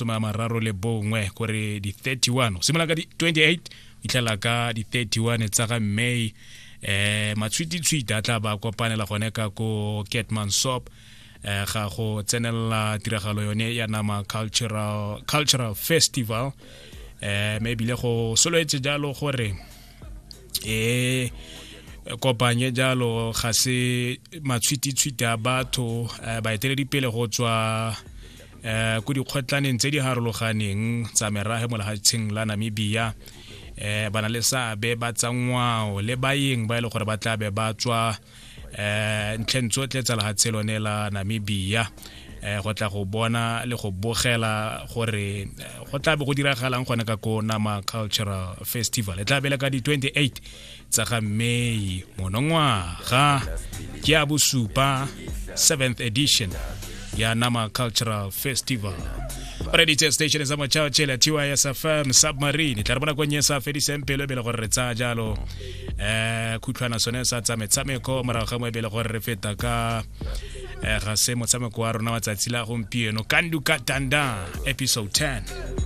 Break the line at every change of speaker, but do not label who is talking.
31 kore di 31 go simolola ka di 28 itlhela ka di 31 tsa ga May. Matshwititshwiti a tla ba kopanela gone ka ko Keetmanshoop ga go tsenelela tiragalo yone ya Nama Cultural Festival. Mme ebile go solowetse jalo gore e kopanye jalo ga se matshwititshwiti a batho, baeteledipele go tswa ko dikgotlaneng tse di harologaneng tsa merage mo lefatsheng la Namibia, ba na le seabe ba tsa ngwao le baeng ba e le gore ba tla be ba tswa ntlheng tsotlhe tsa lefatshe lone la Namibia, go tla go bona le go bogela gore go tla be go diragalang gone ka ko Nama Cultural Festival. E tla bele ka di 28 tsa ga May monongwaga, ke ya bosupa, 7th edition ya Nama Cultural Festival. O reditse station sa mochao tšhela TYS FM Submarine. Tla re bona konnye sa fediseng pelo ebele gore re tsaya jalo khutlhwana sone sa tsa metshameko morago ga mo ebele gore re feta ka ga se motshameko wa rona wa tsatsi la gompieno, Kandu Ka Tanda episode 10.